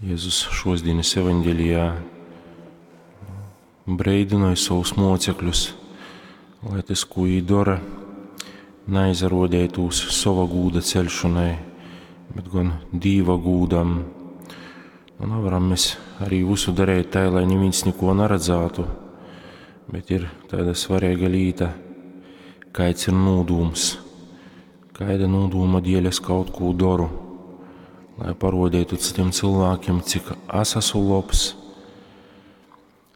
Jēzus šosdienas evaņģelijā breidynoj savus mocekļus, lai tas, ko viņi dara, neaizarodētūs sova gūda ceļšanai, bet gan Dīva gūdam. Nu, nevaram mēs arī visu darīt tā, lai neviens neko neredzētu, bet ir tāda svarīga līta, kāds ir nūdūms, kāda nūdūma dēļ es kaut ko daru, lai parodētu citiem cilvēkiem, cik es esmu labs.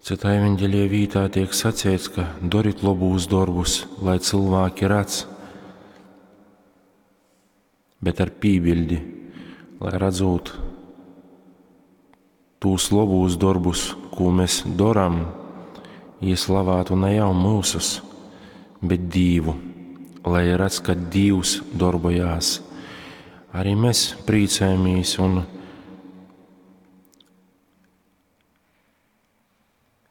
Citā evaņģēlijā vītā tiek sacīts, ka darit labus darbus, lai cilvēki redz, bet ar pībildi, lai redzot tūs labus darbus, ko mēs darām, ieslavātu ne jau mūsus, bet Dievu, lai redz, ka Dievs darbojās. Arī mēs priecājamies un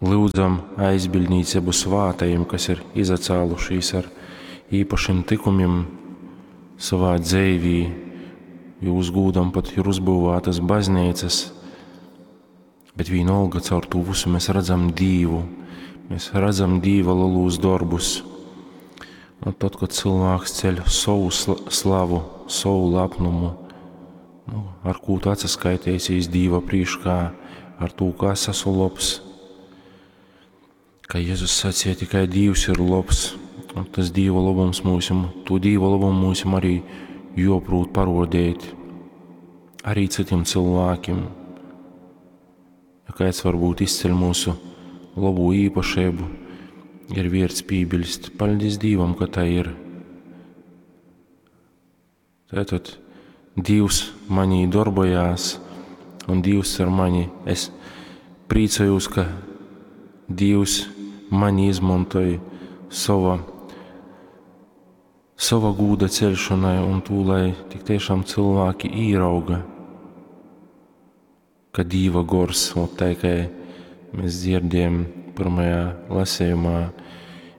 lūdzam aizbildnīcību svātajiem, kas ir izacēlušies ar īpašiem tikumiem savā dzīvī, jo uz gūdam pat ir uzbūvētas baznīcas, bet vienalga caur to visu mēs redzam Dievu, mēs redzam Dieva lielus darbus. Un tad, kad cilvēks ceļ savu slavu, savu lepnumu, nu, ar ko tu atsaskaitīsies Dieva priekšā, ar to, ka es esmu labs, ka Jēzus sacīja, tikai Dievs ir labs, un tas Dieva labums mūsim, to Dieva labumu mūsim arī joprūt parodēt, arī citiem cilvēkiem. Ja kāds varbūt izceļ mūsu labo īpašību, ir vērts piebilst, paldies Dievam, ka tā ir. Tātad Dievs manī darbojās, un Dievs ar mani, es priecājos, ka Dievs mani izmantoja sava, sava gūda ceļšanai un to, lai tik tiešām cilvēki īrauga, ka Dieva gors, un tā kā mēs dzirdējam pirmajā lasījumā,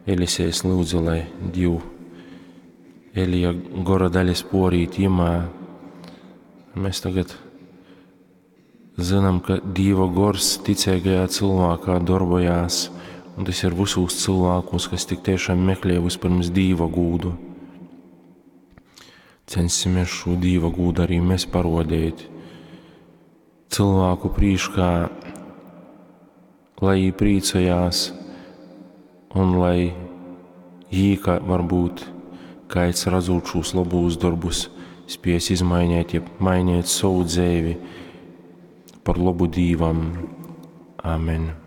Elisejs lūdza, lai Dievu Elija gora daļas porīt jimā. Mēs tagad zinām, ka Dieva gors ticīgajā cilvēkā darbojās, un tas ir visos cilvēkos, kas tik tiešām meklē vispirms Dieva gūdu. Censimies šo Dieva gūdu arī mēs parodēt cilvēku priekšā, lai viņi priecājās un lai jī, ka varbūt kāds redzot šos labos darbus, spies izmainīt, jeb mainīt savu dzīvi par labu Dievam. Amen.